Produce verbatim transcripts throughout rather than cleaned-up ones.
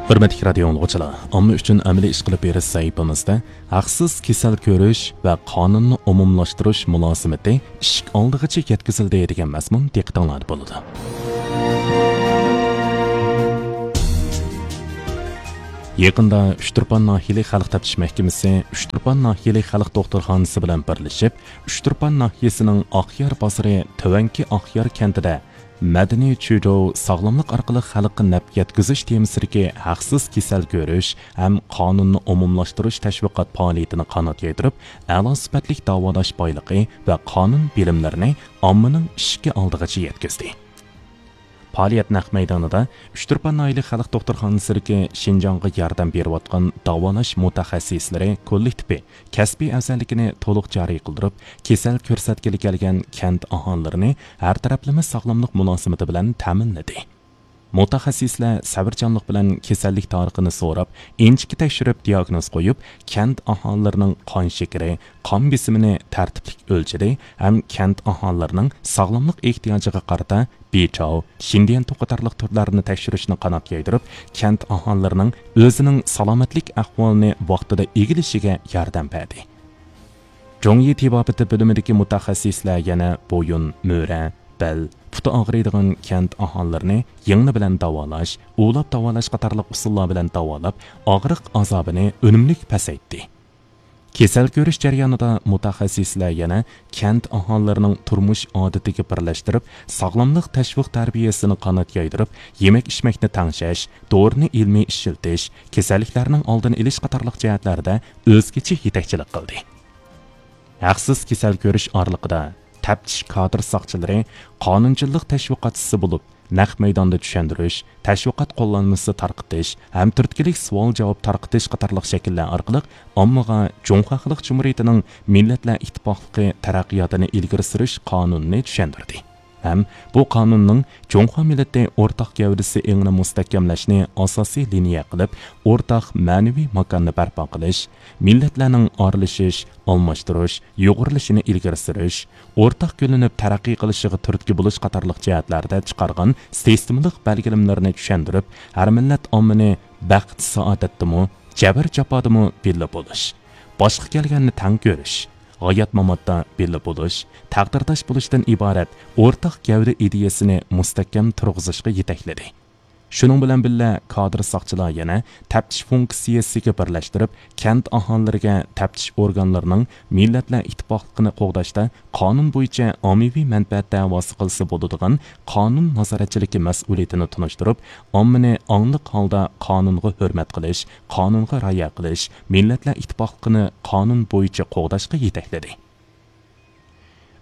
ھۆرمەتلىك رادىيو ئاڭلىغۇچىلار، ئامما ئۈچۈن ئەمەلىي ئىش قىلىپ بېرىش سەھىپىمىزدە ھەقسىز كېسەل كۆرۈش ۋە قانۇننى ئومۇملاشتۇرۇش مۇلازىمىتى ئىشىك ئالدىغىچە يەتكۈزۈلدى دېگەن مەزمۇن دىققىتىڭلاردا بولىدۇ. يېقىندا ئۇچتۇرپان ناھىيەلىك خەلق تەپتىش مەھكىمىسى ئۇچتۇرپان ناھىيەلىك خەلق دوختۇرخانىسى بىلەن بىرلىشىپ، ئۇچتۇرپان ناھىيەسىنىڭ ئاقيار بازىرى تۆۋەنكى ئاقيار كەنتىدە مەدەنىي چۈجوۋ ساغلاملىق ئارقىلىق خەلققە نەپ يەتكۈزۈش تېمىسىدىكى ھەقسىز كېسەل كۆرۈش ھەم قانۇننى ئومۇملاشتۇرۇش تەشۋىقات پائالىيىتىنى قانات يايدۇرۇپ، ئەلا سۈپەتلىك داۋالاش بايلىقى ۋە قانۇن بىلىملىرىنى ئاممىنىڭ ئىشىكى ئالدىغىچە يەتكۈزدى. پائالىيەت نەق مەيدانىدا ئۇچتۇرپان ناھىيەلىك خەلق دوختۇرخانىسىدىكى شىنجاڭغا ياردەم بېرىۋاتقان داۋالاش مۇتەخەسسىسلىرى كوللېكتىپى كەسپىي ئەۋزەللىكىنى تولۇق جارى قىلدۇرۇپ، كېسەل كۆرسەتكىلى كەلگەن كەنت ئاھالىلىرىنى ھەر تەرەپلىمە ساغلاملىق مۇلازىمىتى بىلەن تەمىنلىدى. مۇتەخەسسىسلەر سەۋرچانلىق بىلەن كېسەللىك تارىخىنى سوراپ، ئىنچىكە تەكشۈرۈپ دىياگنوز قويۇپ، كەنت ئاھالىلىرىنىڭ قان شېكىرى، قان بېسىمىنى تەرتىپلىك ئۆلچىدى ھەم كەنت ئاھالىلىرىنىڭ ساغلاملىق ئېھتىياجىغا قارىتا بىچاۋ، شىندىيەنتۇ قاتارلىق تۈرلەرنى تەكشۈرۈشنى قانات يايدۇرۇپ، كەنت ئاھالىلىرىنىڭ ئۆزىنىڭ سالامەتلىك ئەھۋالىنى ۋاقتىدا ئىگىلىشىگە ياردەم بەردى. جۇڭيى تېبابىتى بۆلۈمىدىكى مۇتەخەسسىسلەر يەنە بويۇن، مۈرە، بەل، پۇتى ئاغرىيدىغان كەنت ئاھالىلىرىنى يىڭنە بىلەن داۋالاش، ئۇۋىلاپ داۋالاش قاتارلىق ئۇسۇللار بىلەن داۋالاپ، ئاغرىق ئازابىنى ئۈنۈملۈك پەسەيتتى. كېسەل كۆرۈش جەريانىدا مۇتەخەسسىسلەر يەنە كەنت ئاھالىلىرىنىڭ تۇرمۇش ئادىتىگە بىرلەشتۈرۈپ، ساغلاملىق تەشۋىق تەربىيەسىنى قانات يايدۇرۇپ، يېمەك-ئىچمەكنى تەڭشەش، دورىنى ئىلمىي ئىشلىتىش، كېسەللىكلەرنىڭ ئالدىنى ئېلىش قاتارلىق جەھەتلەردە ئۆزگىچە يېتەكچىلىك قىلدى. ھەقسىز كېسەل كۆرۈش ئارىلىقىدا تەپتىش كادىر ساقچىلىرى قانۇنچىلىق تەشۋىقاتچىسى بولۇپ، نەق مەيداندا چۈشەندۈرۈش، تەشۋىقات قوللانمىسى تارقىتىش ھەم تۈرتكىلىك سوئال-جاۋاب تارقىتىش قاتارلىق شەكىللەر ئارقىلىق ئاممىغا جۇڭخۇا خەلق جۇمھۇرىيىتىنىڭ مىللەتلەر ئىتتىپاقلىقى تەرەققىياتىنى ئىلگىرى سۈرۈش قانۇنىنى چۈشەندۈردى. ھەم بۇ قانۇننىڭ جۇڭخۇا مىللىتى ئورتاق گەۋدىسى ئېڭىنى مۇستەھكەملەشنى ئاساسىي لىنىيە قىلىپ، ئورتاق مەنىۋى ماكاننى بەرپا قىلىش، مىللەتلەرنىڭ ئارىلىشىش، ئالماشتۇرۇش، يۇغۇرۇلۇشىنى ئىلگىرى سۈرۈش، ئورتاق گۈللىنىپ تەرەققىي قىلىشىغا تۈرتكە بولۇش قاتارلىق جەھەتلەردە چىقارغان سىستېمىلىق بەلگىلىمىلىرىنى چۈشەندۈرۈپ، ھەر مىللەت ئاممىنى بەخت-سائادەتتىمۇ، جەبىر-جاپادىمۇ بىللە بولۇش، باشقا كەلگەننى تەڭ كۆرۈش، ھايات-ماماتتا بىللە بولۇش، تەقدىرداش بولۇشتىن ئىبارەت ئورتاق گەۋدە ئىدىيەسىنى مۇستەھكەم تۇرغۇزۇشقا يېتەكلىدى. شۇنىڭ بىلەن بىللە، كادىر ساقچىلار يەنە تەپتىش فۇنكسىيەسىگە بىرلەشتۈرۈپ، كەنت ئاھالىلىرىگە تەپتىش ئورگانلىرىنىڭ مىللەتلەر ئىتتىپاقلىقىنى قوغداشتا قانۇن بويىچە ئاممىۋى مەنپەئەت دەۋاسى قىلسا بولىدىغان قانۇن نازارەتچىلىكى مەسئۇلىيىتىنى تونۇشتۇرۇپ، ئاممىنى ئاڭلىق ھالدا قانۇنغا ھۆرمەت قىلىش، قانۇنغا رىئايە قىلىش، مىللەتلەر ئىتتىپاقلىقىنى قانۇن بويىچە قوغداشقا يېتەكلىدى.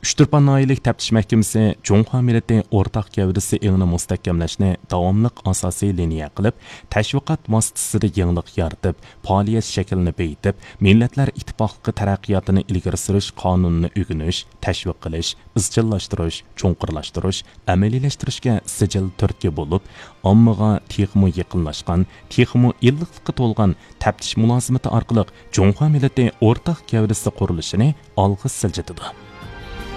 ئۇچتۇرپان ناھىيەلىك تەپتىش مەھكىمىسى جۇڭخۇا مىللىتى ئورتاق گەۋدىسى ئېڭىنى مۇستەھكەملەشنى داۋاملىق ئاساسىي لىنىيە قىلىپ، تەشۋىقات ۋاسىتىسىدە يېڭىلىق يارىتىپ، پائالىيەت شەكلىنى بېيىتىپ، مىللەتلەر ئىتتىپاقلىقى تەرەققىياتىنى ئىلگىرى سۈرۈش قانۇنىنى ئۆگىنىش، تەشۋىق قىلىش، ئىزچىللاشتۇرۇش، چوڭقۇرلاشتۇرۇش، ئەمەلىيلەشتۈرۈشكە سىجىل تۈرتكە بولۇپ، ئاممىغا تېخىمۇ يېقىنلاشقان، تېخىمۇ ئىللىقلىققا تولغان تەپتىش مۇلازىمىتى ئارقىلىق جۇڭخۇا مىللىتى ئورتاق گەۋدىسى قۇرۇلۇشىنى ئالغا سىلجىتىدۇ.